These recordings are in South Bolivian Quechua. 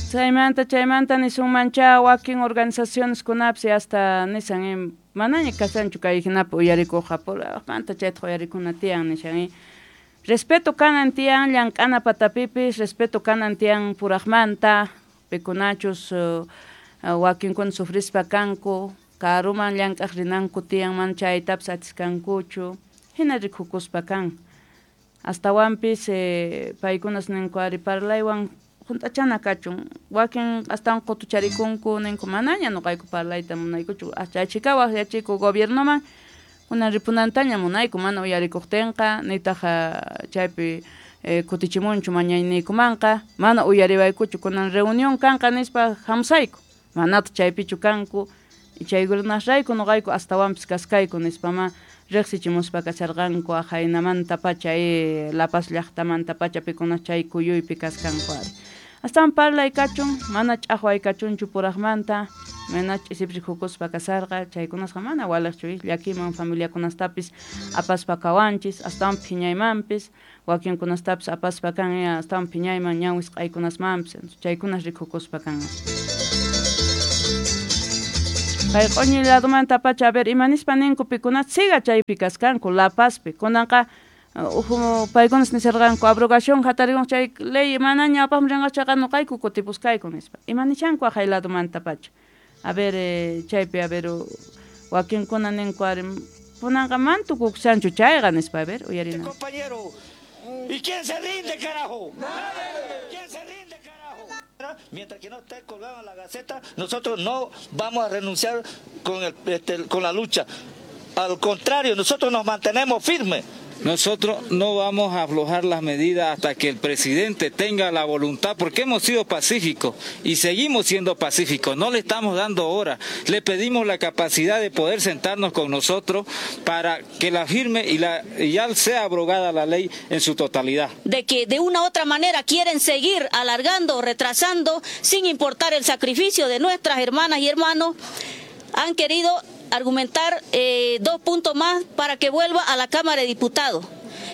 Chaymanta nisunmanchá wakin organizacioneskunapis hasta nishan manaña kashanchu kay hinapi uyarikuqqa purajmanta chaytaq uyarikuna tiyan nishan. Respeto kanan tiyan llank'ana patapipis, respeto kanan tiyan purajmanta, pikunachus wakinkuna sufrispa kanku, karuman llank'aq rinanku tiyan mana chaytapis atiskankuchu, hina rikukuspa kan. Astawanpis paykunas ninku ari parlaywan junt'achana kachun, wakin astawan qutucharikunku ninku manaña nuqayku parlayta munaykuchu, chaychika waqyachiku gobiernoman kunan ripunantaña munayku mana uyarikuqtinqa nitaq chaypi kutichimunchu mañayniykumanqa mana uyariwaykuchu kunan reunión kanqa nispa hamusayku manataq chaypichu kanku chaykunasrayku nuqayku astawanpis kaskayku nispama riqsichimuspa kasharqanku aqhaynamantapacha La Paz llaqtamantapacha pikunas chay kuyuypi kaskanku ari. Astawan parlay kachun mana ch'aqway kachunchu puraqmanta mana ch'isipi rikukuspa kasarqa chaykunasqa mana waliqchu llakiman familiakunastapis apaspa kawanchis astawan phiñaymanpis wakinkunastapis apaspa kan astawan phiñayman ñan wisq'aykunasmanpis chaykunas rikukuspa kan. Kay q'uñi ladomantapacha a ver imanispa ninku pikunas siga chaypi kaskanku La Pazpi kunanqa paykunas nisharqanku abrogación hatarikun chay ley manaña apaqmi rinqa chayqa nuqayku kutipuskayku nispa imanishanku aqhay ladomantapacha a ver chaypi a ver wakinkuna ninku ari kunanqa mana tukukushanchu chayqa nispa a ver uyarina. Compañero, ¿y quién se rinde, carajo? ¿Quién se rinde, carajo? Mientras que no esté colgado en la Gaceta, nosotros no vamos a renunciar con la lucha. Al contrario, nosotros nos mantenemos firmes. Nosotros no vamos a aflojar las medidas hasta que el presidente tenga la voluntad, porque hemos sido pacíficos y seguimos siendo pacíficos, no le estamos dando hora, le pedimos la capacidad de poder sentarnos con nosotros para que la firme y ya sea abrogada la ley en su totalidad. De que de una u otra manera quieren seguir alargando, retrasando, sin importar el sacrificio de nuestras hermanas y hermanos, han querido argumentar 2 puntos más para que vuelva a la Cámara de Diputados.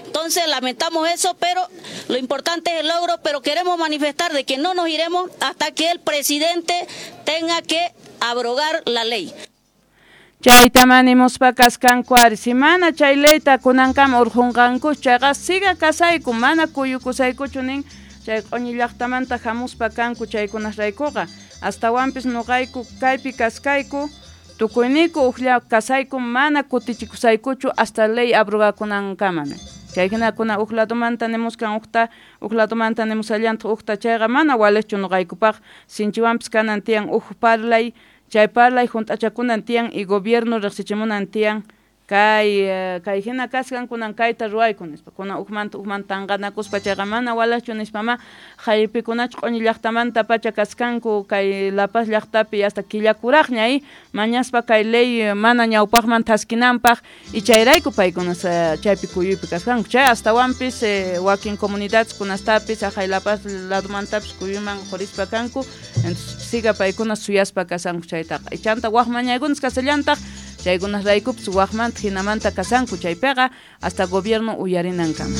Entonces lamentamos eso, pero lo importante es el logro, pero queremos manifestar de que no nos iremos hasta que el presidente tenga que abrogar la ley. Chayta nimuspa kaskanku ari si mana chay leyta kunankama urqunqanku chayqa siga kasayku mana kuyukusaykuchu nin chay q'uñi llaqtamanta hamuspa kanku chaykunasraykuqa astawanpis nuqayku kaypi kaskayku tukuyniyku uqlla kasayku mana kutichikusaykuchu hasta ley abrogakunankama. Chay hinakuna uq ladomanta nimuskan uqta, uq ladomanta nimusallantaq uqta chayqa mana waliqchu nuqaykupaq sinchiwanpis kanan tiyan uq parlay, chay parlay junt'achakunan tiyan y gobierno riqsichimunan tiyan kay hina kaskan kunan kayta ruwayku nispa kunan uqmanta uqmanta tanqanakuspa chayqa mana waliqchu nispama haypikunachu q'uñi llaqtamanta pacha kaskanku kay La Paz llaqtapi hasta killakuraqña mañaspa kay ley mana ñawpaqman thaskinanpaq y chayrayku paykunas chaypi kuyuypi kaskanku chay astawanpis wakin comunidades kunastapis aqhay La Paz ladomantapis kuyuyman qurispa kanku entonces siga paykunas suyaspa kasanku chaytaqa chanta waq mañaykunas kasallantaq chaykunasraykupis waqmanta hinamanta kasanku chaypiqa hasta gobierno uyarinankama.